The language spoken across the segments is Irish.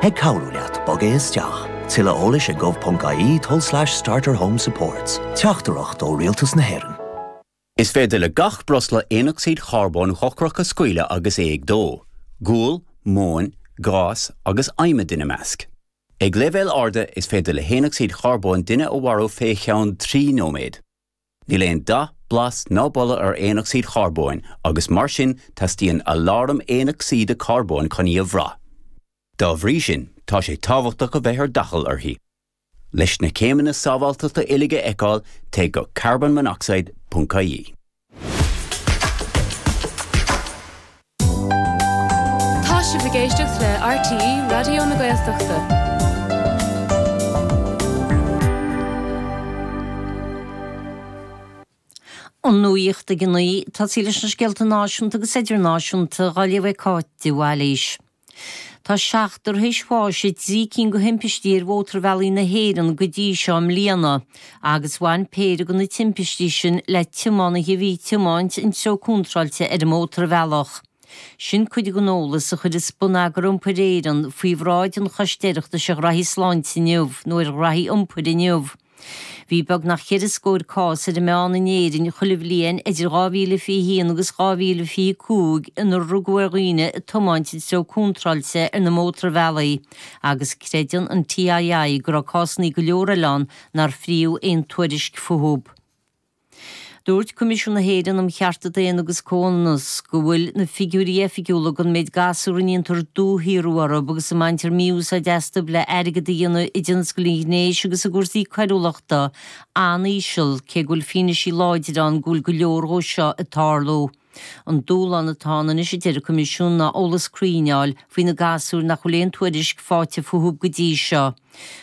Ag cabhrú leat bogadh isteach. Tuilleadh eolais ag gov.ie tulslais starter home supports. Teachtaireacht ó Rialtas na hÉireann. Is féidir le gach breosla aonocsaíd charbóin dhochrach a scaoileadh agus é ag dó, gual, móin, gás agus adhmad ina measc. Ag leibhéil arda, is féidir le haonocsaíd charbóin duine a mharú fé cheann 3 nóiméad. Níl aon dath, blas ná boladh ar aonocsaíd charbóin agus mar sin teastaíonn aláram aonocsaíde carbóin chun í a bhrath. Dá bhrí sin, tá sé tábhachtach a bheith ar d'fhaichill uirthi. Leis na céimeanna sábháilteachta uilig a fheiceáil, téigh go carbonmonoxide ponc ie. Tá sibh ag éisteacht le RTÉ Raidió na Gaeltachta. An nuacht ag 9, tosaí leis na scéalta náisiúnta agus idirnáisiúnta á léamh ag Cáit de Bhailís. Tá seachtar théis bháis i dtrí cinn de thimpistí ar mhótarbhealaí na hÉireann go dtí seo i mbliana agus bhain péire de na timpistí sin le tiománaithe a bhí ag tiomáint an treo contráilte ar an mótarbhealach. Sin cuid den eolas a chuirfeas Bonneagar Iompair Éireann faoi bhráid an Choiste Oireachtais ar Ghraithí Sláinte inniu nó ar Ghraithí Iompair inniu. Bhí beagnach cheithre scóir cás ar an meán in Éirinn chuile bhliain idir 2021 agus 2025 inar rugadh ar dhaoine ag tiomáint an treo contráilte ar na mótarbhealaí agus creideann an TII go raibh cásanna go leor eile ann nár fríodh aon tuairisc fúthu. Dúirt Coimisiún na hÉireann um Chearta Daonna agus Comhionannas go bhfuil na figiúirí oifigiúla den méid gasúr a ndéantar dúshaothrú orthu agus a mbaintear mí-úsáid astu le airgead a dhéanamh i dtionscal an ghnéis agus i gcúrsaí coiriúlachta an-íseal cé go bhfuil fianaisí láidir ann go bhfuil go leor dhó seo ag tarlú. An dúshlán atá ann anois, a deir an Coimisiún, ná eolas cruinn a fháil faoi na gasúir nach bhfuil aon tuairisc faighte fúthu go dtí seo.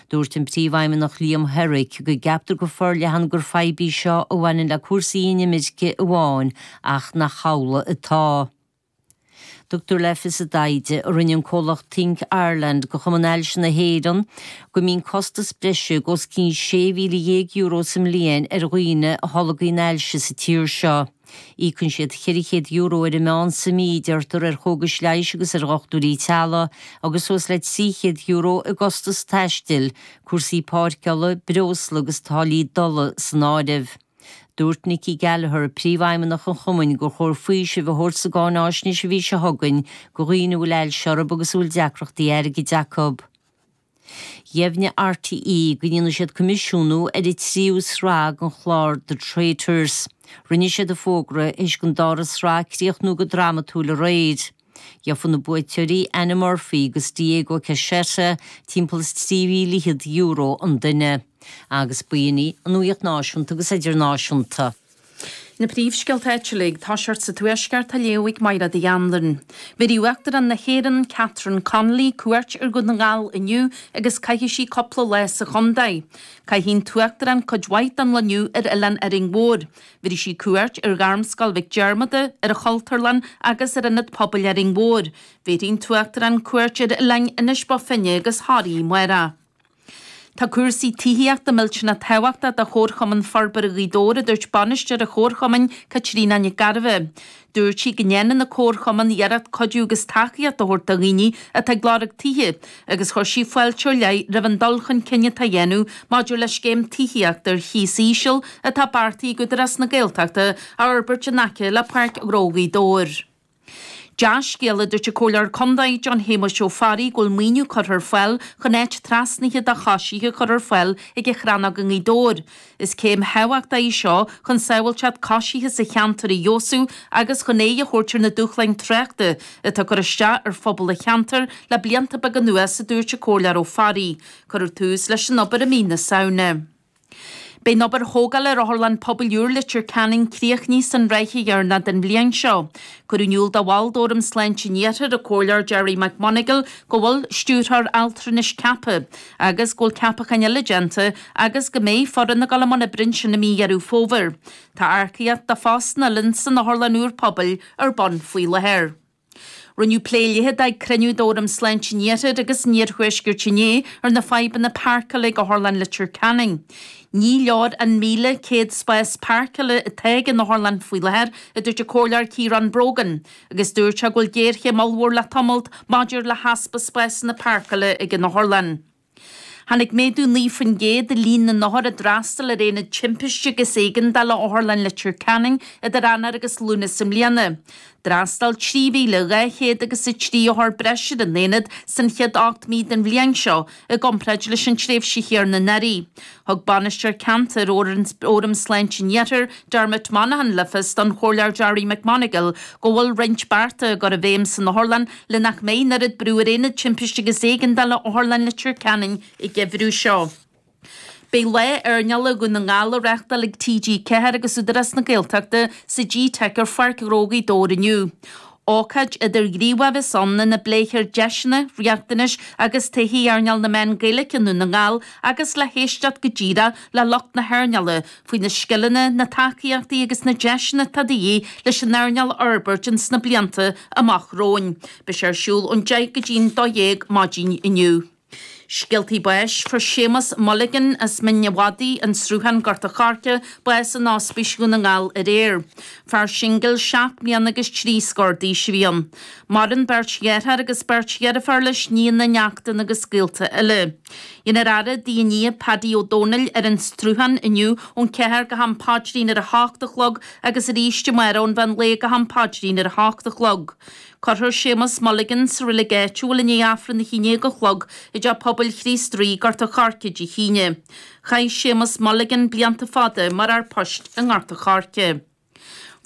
Dúirt an Príomhfheidhmeannach Liam Herrick go gceaptar go forleathan gur fadhb í seo a bhaineann le cúrsaí inimirce amháin ach nach amhlaidh atá. Tugtar le fios i dtaighde a rinne an comhlacht Think Ireland do Chumann Ailse na hÉireann go mbíonn costas breise os cionn €16,000 sa mbliain ar dhaoine a tholgaíonn ailse sa tír seo. Íocann siad €400 ar an meán sa mí, deirtear, ar chógais leighis agus ar dhochtúirí teaghlaigh, agus suas le €300 i gcostas taistil, cúrsaí páirceála, breosla agus táillí dola san áireamh. Dúirt Nikki Gallagher, Príomhfheidhmeannach an Chumainn, gur chóir faoiseamh a thabhairt sa gcáináisnéis an mhí seo chugainn do dhaoine a bhfuil ailse orthu agus a bhfuil deacrachtaí airgid acu. Dheimhnigh RTÉ go ndéanfaidh siad coimisiúnú ar an tríú sraith den chlár The Traitors. Rinne siad an fógra théis don dara sraith críochnú go drámatúil aréir. Gheofaidh na buaiteoirí, Anna Murphy agus Diego Cassetta, timpeall is €23,000 an duine. Agus b'in í an nuacht náisiúnta agus idirnáisiúnta. Na príomhscéalta áitiúla ag toiseacht sa Tuaisceart á léamh ag Máire Uí Anluain. Bhéarfaidh Uachtarán na hÉireann, Catherine Connolly, cuairt ar Dhún na nGall inniu agus caithfidh sí cúpla lá sa chontae. Caithfidh an tUachtarán cuid mhaith den lá inniu ar Oileán Árainn Mhór. Bhéarfaidh sí cuairt ar Ghairmscoil Mhic Diarmada, ar an Chultúrlann agus ar Ionad Pobail Árainn Mhór. Bhéarfaidh an tUachtarán cuairt ar oileáin Inis Bó Finne agus Thoraí amárach. Tá cúrsaí tithíochta millteanach tábhachtach do Chomharchumann Forbartha Ghaoth Dobhair, a dúirt bainisteoir an Chomharchumainn, Caitríona Nic Gairbheith. Dúirt sí go ndéanann an Comharchumann iarracht cuidiú agus tacaíocht a thabhairt do dhaoine atá ag lorg tithe agus chuir sí fáilte ar leith roimh an dul chun cinn atá á dhéanamh maidir le scéim tithíochta ar chíos íseal atá beartaithe ag Údarás na Gaeltachta a fhorbairt in aice le Páirc Ghnó Ghaoth Dobhair. Dea-scéala, a dúirt an Comhairleoir Contae, John Shéamuis Ó Fearraigh, go bhfuil maoiniú curtha ar fáil chun áit trasnaithe do choisithe a chur ar fáil ag an Chrannóg i nGaoth Dobhair. Is céim thábhachtach í seo chun sábháilteacht coisithe sa cheantar a fheabhsú agus chun aghaidh a thabhairt ar na dúshláin tráchta atá ag cur isteach ar phobal an cheantair le blianta beaga anuas, a dúirt an Comhairleoir Ó Fearraigh. Cuireadh tús leis an obair i mí na Samhna. Beidh an obair thógála ar Otharlann Pobail úr Leitir Ceanainn críochnaithe san ráithe dheireanach den bhliain seo. Cuireadh in iúl do bhall d'Fhóram Sláinte an Iarthair, an Comhairleoir Gerry McMonagall, go bhfuil Stiúrthóir Altranais ceaptha agus go bhfuil ceapacháin eile déanta agus go mbeidh foireann ag dul i mbun oibre ansin i mí Dheireadh Fómhair. Tá earcaíocht do phostanna eile san Otharlann úr Pobail ar bun faoi láthair. Rinneadh plé leitheadach ag cruinniú d'Fhóram Sláinte an Iarthair agus an Iarthuaiscirt inné ar na fadhbanna páirceála ag Otharlann Leitir Ceanainn. Ní leor an 1,100 spás páirceála atá ag an otharlann faoi láthair, a dúirt an Comhairleoir Ciarán Brogan, agus dúirt sé go bhfuil géarchéim ollmhór le tamalt maidir le heaspa spásanna páirceála ag an otharlann. Tháinig méadú 9% i líon na n-othar a d'fhreastail ar Aonad Timpiste agus Éigeandála Otharlann Leitir Ceanainn idir Eanáir agus Lúnasa i mbliana. D'fhreastail 3,200 agus 3 othar breise ar an aonad san chéad 8 mí den bhliain seo i gcomparáid leis an tréimhse chéanna anuraidh. Thug Bainisteoir Ceantair Fhóram Sláinte an Iarthair, Dermot Monaghan le fios don Chomhairleoir Gerry McMonagall go bhfuil roinnt bearta á gcur i bhfeidhm san otharlann le nach mbeidh an oiread brú ar Aonad Timpiste agus Éigeandála Otharlann Leitir Ceanainn an geimhreadh seo. Beidh Lá Airneála Dhún na nGall á reáchtáil ag TG4 agus Údarás na Gaeltachta sa G-Teic ar Pháirc Ghnó Ghaoth Dobhair inniu. Ócáid idirghníomhach a bheas ann ina bpléifear deiseanna, riachtanais agus todhchaí earnáil na meán Gaeilge i nDún na nGall agus le héisteacht go díreach le lucht na hearnála faoi na scileanna, na tacaíochtaí agus na deiseanna atá de dhíth leis an earnáil a fhorbairt ins na blianta amach romhainn. Beidh sé ar siúl ón 10 go dtí'n 12 maidin inniu. Scéaltaí báis, Fuair Séamus Mulligan as Mín a' Mhadaidh, An Sruthán, Gort a' Choirce, bás in Ospís Dhún na nGall aréir. Fear singil seacht mbliana agus trí scór d'aois a bhí ann. Maireann beirt dheartháir agus beirt dheirféar leis, nianna, neachtanna agus gaolta eile. Déanfar faire i dtigh an Aoidh Paddy Ó Dónaill ar an Sruthán inniu ón 4 go ham paidrín ar a hocht a chlog agus arís amárach ón mheán lae go ham paidrín ar a hocht a chlog. Cuirfear Séamus Mulligan sa reilig áitiúil i ndiaidh Aifreann a haon déag a chlog i dTeach Pobail Chríost Rí, Gort a' Choirce Dé hAoine. Chaith Séamus Mulligan blianta fada mar fhear poist i nGort a' Choirce.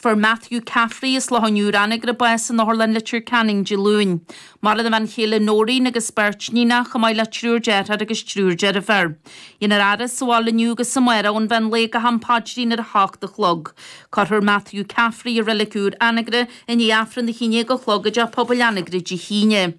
Fuair Matthew Caffrey as Loch an Iúir Anagaire bás in Otharlann Leitir Ceanainn Dé Luain. Maireann a bhean chéile Noreen agus beirt níonach chomh maith le triúr deartháir agus triúr deirféar. Déanfar a fhaire sa bhaile inniu agus amárach ón mheán lae go ham paidrín ar a hocht a chlog. Cuirfear Matthew Caffrey i Reilig Úr Anagaire i ndiaidh Aifreann a haon déag a chlog i dTeach Pobail Anagaire Dé hAoine.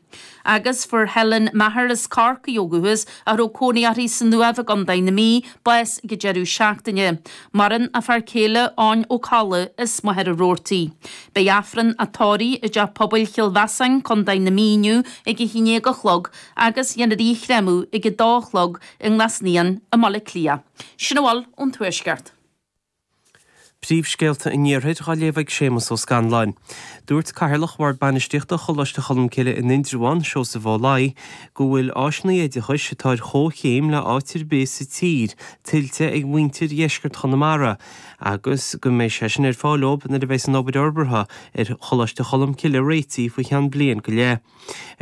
Agus fuair Helen Maher as Corcaigh ó dhúchas, a raibh cónaí uirthi san Uaimh i gContae na Mí, bás ag an deireadh seachtaine. Maireann a fear céile Eoin Ó Colla as Machaire Rabhartaigh. Beidh Aifreann a tórraimh i dTeach Pobail Chill Mheasáin, Contae na Mí inniu ag a haon déag a chlog agus dhéanfar í a chréamadh ag a dó a chlog i nGlas Naíon i mBaile Átha Cliath. Sin a bhfuil ón Tuaisceart. Príomhscéalta an Iarthair á léamh ag Séamus Ó Scanláin. Dúirt Cathaoirleach Bhord Bainistíochta Choláiste Cholmcille in Indreabhán, Seosamh Ó Laoi, go bhfuil áiseanna oideachais atá ar chomhchéim le áit ar bith sa tír tuillte ag muintir dheisceart Chonamara agus go mbeidh sé sin ar fáil dóibh nuair a bheas an obair fhorbartha ar Choláiste Cholmcille réitithe faoi cheann bliain go leith.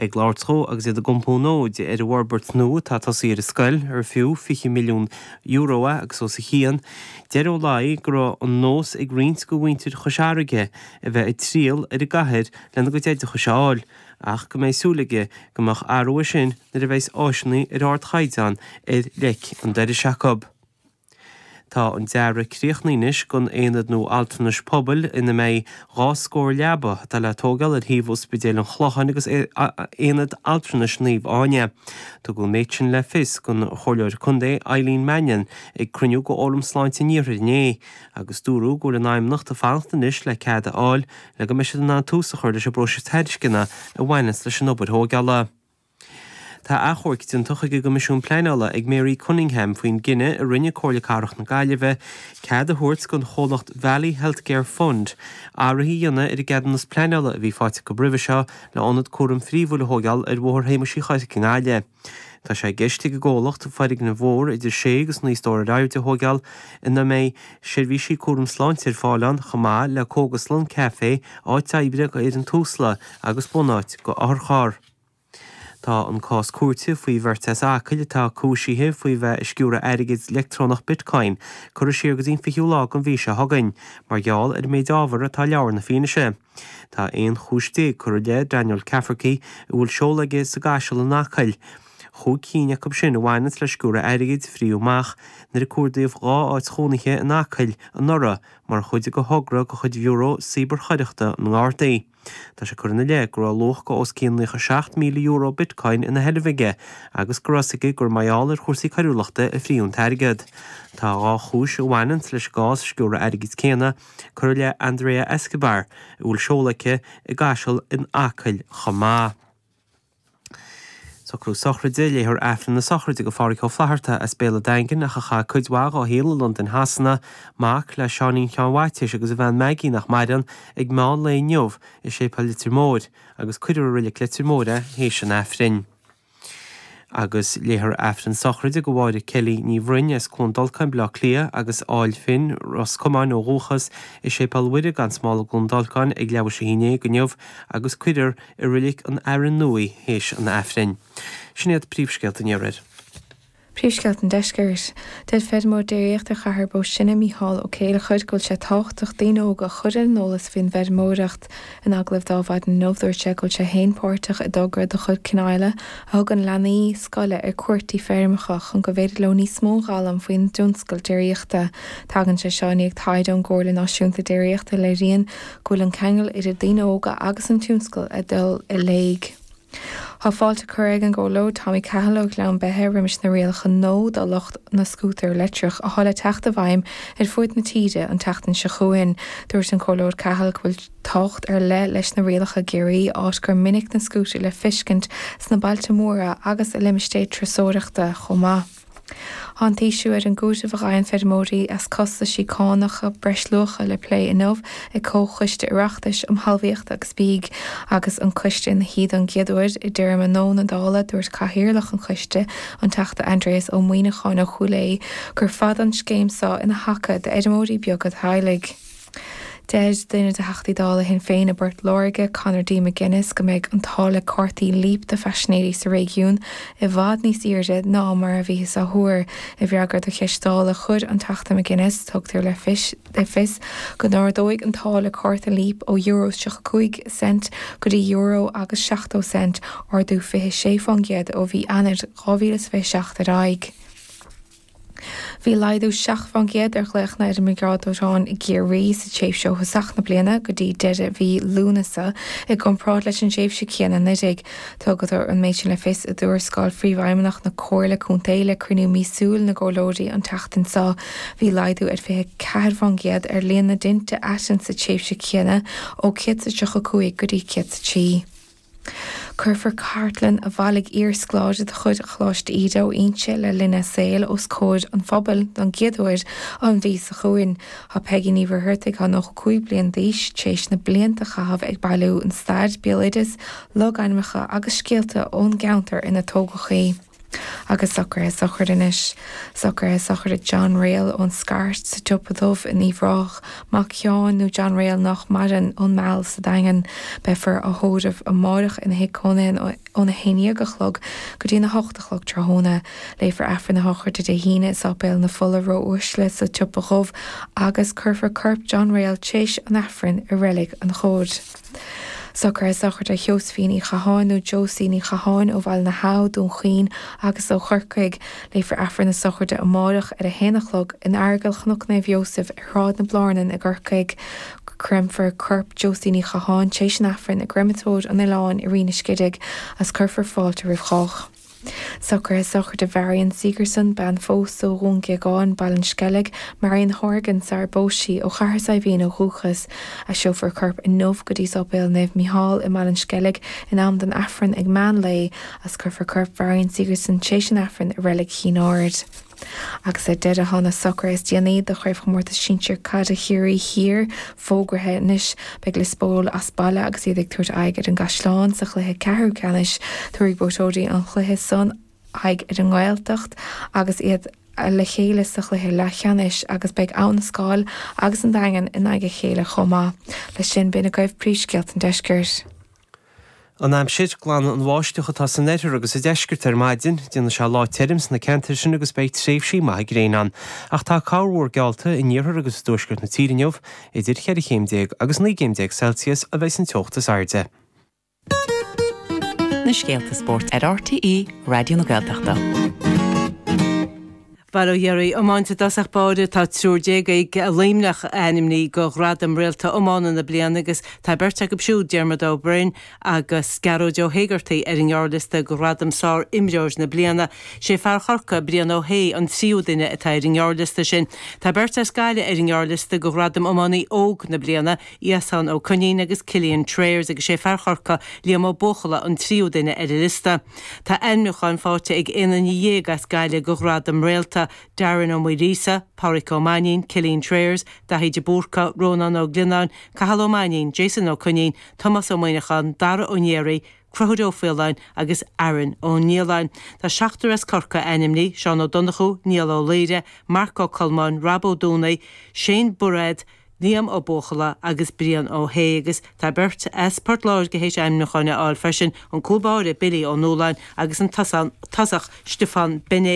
Ag labhairt dhó agus iad ag iompú an fhóid ar an bhforbairt nua atá tosaithe ar an scoil, ar fiú €20 milliún é agus os a chionn, deir Ó Laoi go raibh an nós ag roinnt de mhuintir Chois Fharraige a bheith ag triall ar an gcathair lena gcuid oideachais a fháil, ach go mbeidh súil aige go mbeadh athrú air sin nuair a bheas áiseanna ar ardchaighdeán ar leic an dorais acu. Tá an dearadh críochnaithe anois don aonad nua altranais pobail ina mbeidh dhá scór leaba atá le tógáil ar thaobh Ospidéal an Chlocháin agus Aonad Altranais Naomh Áine. Tugadh an méid sin le fios don Chomhairleoir Contae Eileen Mannion ag cruinniú de Fhóram Sláinte an Iarthair inné agus dúradh go bhfuil an Fheidhmeannacht ag fanacht anois le cead a fháil le go mbeidh siad in ann tús a chur leis an bpróiseas tairisceana a bhaineanns leis an obair thógála. Tá achomharc déanta chuig an gCoimisiún Pleanála ag Mary Cunningham faoin gcinneadh a rinne Comhairle Cathrach na Gaillimhe cead a thabhairt don chomhlacht Valley Healthcare Fund athruithe a dhéanamh ar an gceadúnas pleanála a bhí faighte acu roimhe seo le ionad cúraim phríomhúil a thógáil ar Bhóthar Shéamuis Uí Choirce i nGaillimh. Tá sé i gceist ag an gcomhlacht foirgneamh mhór idir sé agus naoi stór ar airde a thógáil ina mbeidh seirbhísí cúraim sláinte ar fáil ann chomh maith le cógaslann, caifé, áit oibre d'fhoireann Tusla agus bunáit do otharcharr. Tá an cás cúirte faoi bheirt as Acaill atá cúisithe faoi bheith ag sciúradh airgid leictreonach Bitcoin curtha siar go dtí an 20ú lá den mhí seo chugainn mar gheall ar an méid ábhar atá i leabhar na fianaise. Tá 11 chúis curtha i leith Daniel Cafferkey a bhfuil seoladh aige sa gCaiseal in Acaill. Chúig cinn acu sin a bhaineanns le sciúradh airgid a frítheadh amach nuair a cuardaíodh 2 áit chónaithe in Acaill anuraidh mar chuid de thogra de chuid Bhiúró Cíbearchoireachta na nGardaí. Tá sé curtha ina leith go raibh luach de os cionn €97,000 Bitcoin ina sheilbh aige agus go raibh a fhios aige gur mar gheall ar chúrsaí coiriúlachta a frítheadh an t-airgead. Tá 2 chúis a bhaineanns leis an gcás sciúradh airgid céanna curtha i leith Andrea Escobar, a bhfuil seoladh aici i gCaiseal in Acaill chomh maith. Socrú sochraide, Léifear Aifreann na sochraide do Phádhraic Ó Flatharta as Béal an Daingin ach a chaith cuid mhaith dhá shaol i Londain Shasana, mac le Seáinín Sheáin Mhaitiais agus a bhean Maggie nach maireann, ag meán lae inniu i Séipéal Leitir Móir agus cuirfear i Reilig Leitir Móir é théis an Aifrinn. Agus léifear Aifreann sochraide do Mháire Kelly Ní Bhroin as Cluain Dolcáin, Baile Átha Cliath agus Áill Finn, Ros Comáin ó dhúchas, i Séipéal Mhuire gan Smál i gCluain Dolcáin ag leathuair théis a haon déag inniu agus cuirfear i Reilig an Fhearainn Nua í théis an Aifrinn. Sin iad príomhscéalta an Iarthair. Príomhscéalta an Deiscirt. Deir feirmeoir déiríochta Chathair Bó Sine, Mícheál Ó Céileachair, go bhfuil sé tábhachtach daoine óga a chur ar an eolas faoin bhfeirmeoireacht. In agallamh dó Adhmhaidin inniu, dúirt sé go bhfuil sé féin páirteach i dtogra de chuid Cnaile a thugann leanaí scoile ar cuairt dtí feirmeacha chun go bhféidir leo níos mó a fhoghlaim faoin dtionscal déiríochta. Tagann sé seo i ndiaidh taighde ón gComhairle Náisiúnta Déiríochta a léiríonn go bhfuil an ceangal idir daoine óga agus an tionscal ag dul i léig. Tá fáilte curtha ag an gComhairleoir Tommy Cahill ó Ghleann Beithe roimis na rialacha nua do lucht na scútar leictreach atá le teacht i bhfeidhm ar fuaid na tíre an tseachtain seo chugainn. Dúirt an Comhairleoir Cahill go bhfuil tábhacht ar leith leis na rialacha i gCiarraí, áit gur minic na scútair le feiscint sna bailte móra agus i limistéir turasóireachta chomh maith. Tá an t-ísliú ar an gcúiteamh a fhaigheann feirmeoirí as costaisí cánacha breisluacha le plé inniu ag Comhchoiste Oireachtais um Thalmhaíocht agus Bídh. Agus an coiste ina shuí don gcéad uair i dtéarma nua na Dála, dúirt Cathaoirleach an choiste, an Teachta Aindrias Ó Muimhneacháin ó Chúil Aodha, gur fada an scéim seo ina thaca d'fheirmeoirí beaga teaghlaigh. Deir duine de Theachtaí Dála Shinn Féin i bPort Láirge, Conor D McGuinness, go mbeidh an táille cártaí Leap do phaisinéirí sa réigiún i bhfad níos airde ná mar a bhíothas á thuar. I bhfreagra do cheist Dála a chuir an Teachta McGuinness, tugtar le fios go n-ardóidh an táille cárta Leap ó euro 35 cent go dtí euro agus 70 cent, ardú 26 fán gcéad ó mhí Eanáir 2027 ar aghaidh. Bhí laghdú 7 fán gcéad ar ghlaochanna ar an mBriogáid Dóiteáin i gCiarraí sa tréimhse ó thosach na bliana go dtí deireadh mhí Lúnasa i gcomparáid leis an tréimhse chéanna anuraidh. Tugtar an méid sin le fios i dtuarascáil Phríomhfheidhmeannach na Comhairle Contae le cruinniú míosúil na gComhairleoirí an tseachtain seo. Bhí laghdú ar 24 fán gcéad ar líon na dtinte aiteann sa tréimhse chéanna ó 135 go dtí 103. Cuirfear cartlann a bhailigh iarscoláire de chuid Choláiste Íde ó Inse le linn a saoil os comhair an phobail don gcéad uair an mhí seo chugainn. Tá Peigí Ní Mhuircheartaigh, atá 95 bliain d'aois, tar éis na blianta a chaitheamh ag bailiú an stair, béaloideas, logainmneacha agus scéalta ón gceantar ina tógadh í. Agus socruithe sochraide anois. Socruithe sochraide John Réal ón Scairt sa tSiopa Dubh in Uíbh Ráthach, mac Sheáin nó John Réal nách maireann, ón Meal sa Daingean. Beifear á thórramh amáireach ina thigh cónaithe óna 11 a chlog go dtí an 8 a chlog tráthnóna. Léifear Aifreann na sochraide Dé hAoine i Sáipéal na Fola Ró-Uaisle sa tSiopa Dhubh agus cuirfear corp John Réal tréis an Aifrinn i Reilig an Chóir. Socruithe sochraide Sheosaimhín Uí Chatháin nó Josie Ní Chatháin ó Bhaile na hAbha, Dún Chaoin agus ó Chorcaigh. Léifear Aifreann na sochraide amáireach ar a haon a chlog in Aireagal Chnoc Naomh Iósaef ar Shráid na Blárnan i gCorcaigh. Créamfar corp Josie Ní Chatháin tar éis an Aifrinn i gCreamatóir an Oileáin i Rinn an Scidigh agus cuirfear fáilte roimh chách. Socruithe sochraide Mharion Sigerson, bean phósta ó Dhún Géagáin, Baile an Sceilg, Marion Horgan sarar phós sí, ó Chathair Saidhbhín ó dhúchas. Aistreofar a corp inniu go dtí Sáipéal Naomh Mícheál i mBaile an Sceilg in am don Aifreann ag meán lae agus cuirfear corp Mharion Sigerson tréis an Aifrinn i Reilig Chinn Aird. Agus ar deireadh tá na socruithe is déanaí do Chraobhchomórtas Sinsir Caide Chiarraí Thiar fógraithe anois. Beidh Lios Póil as baile agus iad ag tabhairt aghaidh ar an gCaisleán sa chluiche ceathrú ceannais. Tabharfaidh buaiteoirí an chluiche san aghaidh ar an nGaeltacht agus iad le chéile sa chluiche leathcheannais agus beidh Abha na Scáil agus an Daingean in aghaidh a chéile chomh maith. Leis sin, b'in agaibh príomhscéalta an deiscirt. An aimsir, Glanfaidh an bháisteach atá san oirthear agus sa deisceart ar maidin. Déanfaidh sé lá tirim sna ceantair sin agus beidh tréimhsí maithe gréine ann. Ach tá corrmhúr geallta in iarthar agus i dtuaisceart na tíre inniu. Idir cheithre chéim déag agus 19 gcéim Celsius a bheidh an teocht is airde. Na scéalta spóirt ar RTÉ Raidió na Gaeltachta. Bail ó Dhia oraibh. Iomáint i dtosach báire, tá triúr déag ag Luimneach ainmnithe go Ghradam Réalta Iomána na Bliana agus tá beirt acu siúd, Diarmuid Ó Broin agus Gearóid Ó hÉigeartaigh ar an ngearrliosta go Ghradam Sár-Imreoir na Bliana. Sé fear Chorcaí, Brian Ó hAodha, an tríú duine atá ar an ngearrliosta sin. Tá beirt as Gaillimh ar an ngearrliosta go Ghradam Iománaí Óg na Bliana, Iasán Ó Coinín agus Cillian Trayers agus sé fear Chorcaí, Liam Ó Buachalla an tríú duine ar an liosta. Tá ainmniúcháin faighte ag aon duine dhéag as Gaillimh go Ghradam Réalta, Darren Ó Maoilíosa, Páraic Ó Mainnín, Cillian Trayers, Daithí de Búrca, Rónán Ó Glionnáin, Cathal Ó Mainnín, Jason Ó Coinín, Tomás Ó Muineacháin, Dara Ó Néaraí, Conchúr Ó Faoláin agus Aaron Ó Nialláin. Tá seachtar as Corcaigh ainmnithe, Seán Ó Donnchú, Niall Ó Laoire, Marc Ó Colmáin, Rob Ó Dúnaigh, Shane Bairéad, Liam Ó Buachalla agus Brian Ó hAodha agus tá beirt as Port Láirge théis ainmniúcháin a fháil freisin, an cúl báire Billy Ó Nualláin agus an tosach Stiofán Bené.